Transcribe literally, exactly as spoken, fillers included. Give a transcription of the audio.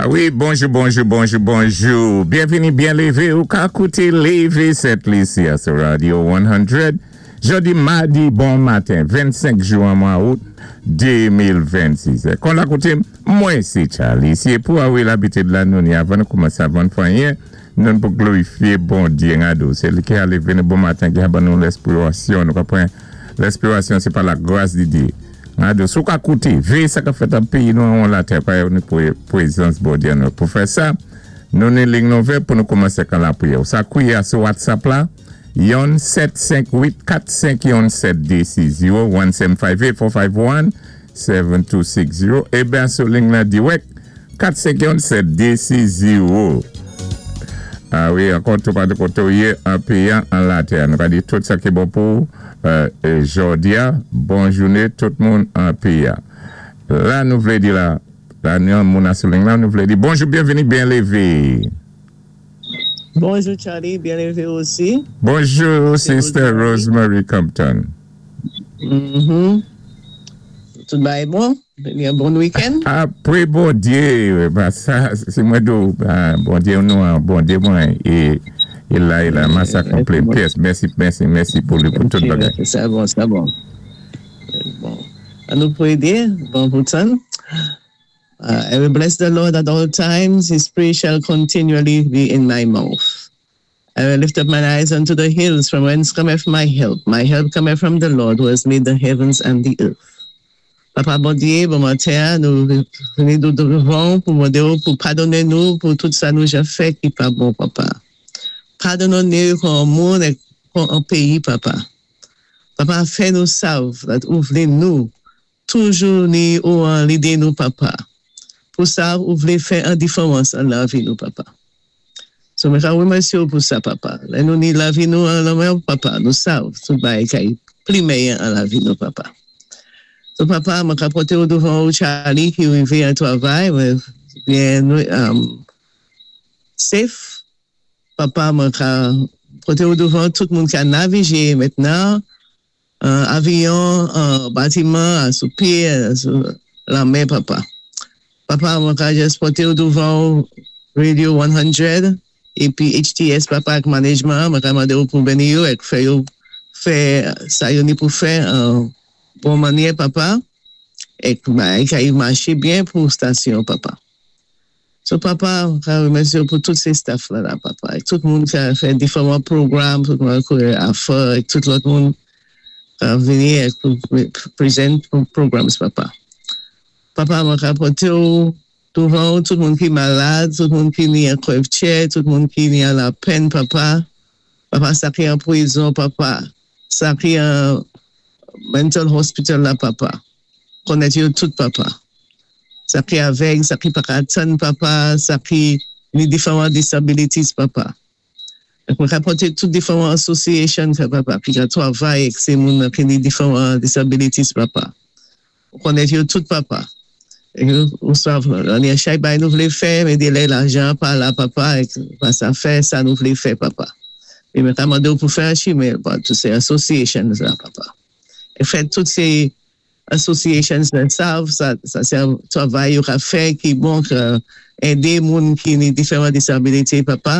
Wi, bonjou, bonjou, bonjou, bonjou. Byenvini, byen lévé. Ou ka kouté Lévé Sent Lisi sou Radio san. Jòdi, madi, bon maten, vennsenk jwen, mwa out de mil vennsis. Kon la kouté, mwen sé Charlie. Si pou awi labitid la nou ni avan nou koumansé avan fanyen, nou pou glorifié Bondyé ngadou. Sé li ki a lévé nou bon maten ki a ban nou lenspirasyon. Nou konpwann, lenspirasyon sé pa la gras di Dyé. Ngadou, sou ka kouté, véyé sa ka fèt an péyi nou an latè, pa nou pou pwézans Bondyé nou. Pou fè sa, nou ni liy nou pou nou koumansé kan lapriyè. Sa kouya sou WhatsApp la, yon sèt senk uit kat senk yon sèt dé sis zéwo, en sept cinq huit quatre cinq un sept deux six zéro é ben sou liy la dirèk kat senk yon sèt dé sis zéwo. A wi, ankò tou pa de koté ou yé an péyi an latè. Nou ka di tout sa ki bon pou euh, jòdi a, bon jouné tout moun an péyi. La nou vlé di la, la nou moun sou liy la, nou vlé di bonjou, byenvini, byen lévé. Bonjou Charlie, byen lévé osi. Bonjou Sister Rosemary Compton. Mm Tout bagay bon? Yon bon week-end? Apwé Bondyé, ba, sa, sé mwen dou, ba, Bondyé nou, Bondyé mwen, é, é la, é la, mwen sa konplè, pyès, mèsi, mèsi, mèsi pou li, pou tout bagay. Sa bon, sa bon. Bon. An nou pwédé, bon pou tan. Uh, I will bless the Lord at all times. His praise shall continually be in my mouth. I will lift up mine eyes unto the hills, from whence cometh my help. My help cometh from the Lord, who has made the heavens and the earth. Papa Bondyé, bon maten, nou vini dévan pou mandé pou padoné nou pou tout sa nou ja fè ki pa bon, Papa. Padoné nou kon moun é kon an péyi, Papa. Papa, fè nou sav that ou vlé nou toujou ni ou an lidé nou, Papa. Pou sa ou vlé fè an diféwans an lavi nou, Papa. So, mwen ka wémèsyé pou sa, Papa. Lè nou ni lavi nou an lanmen, Papa, nou sav tout bagay kay pli méyè an lavi nou, Papa. So, Papa, mwen ka poté ou douvan ou Charlie ki rivé an twavay, mwen byen um, safe. Papa, mwen ka poté ou douvan tout moun ki a navigé mentnan, uh, avyon, uh, batiman, sou pyé, sou lanmè, Papa. Papa, mwen ka jis poté ou douvan Radio san épi H T S, Papa, ak management, mwen ka mandé ou pou béni yo, ek fè yo, fè sa yo ni pou fè an bon mannyè, Papa, ek ka y maché byen pou stasyon, Papa. So, Papa, ka wémèsyé pou tout sé staff la la, Papa. Ek tout moun ka fè diféwan pwogram, tout moun ka a fè, ek tout lòt moun ka vini ek pou present programs, Papa. Papa, mwen ka poté ou douvan tout moun ki malad, tout moun ki ni an krèvtchè, tout moun ki ni an lapèn, Papa. Papa, sa ki an pwizon, Papa. Sa ki an mental hospital la, Papa. Konnèt yo tout, Papa. Sa ki avèg, sa ki pa ka tann, Papa, sa ki ni diféwan disabilities, Papa. Mwen ka poté tout diféwan association, Papa, ki ka twavay ek sé moun ki ni diféwan disabilities, Papa. Konnèt yo tout, Papa. Ou sav, an yon chay bay nou vlé fè, men dé lè lajan pa la, Papa, ek pa sa fè, sa nou vlé fè, Papa. E mwen ta mandé ou pou fè an chimen, pa, tout sé associations la, Papa. E fè tout sé associations la sav, sa, sa sé an twavay yo ka fè ki bon ka édé moun ki ni diféwan disabilité, Papa.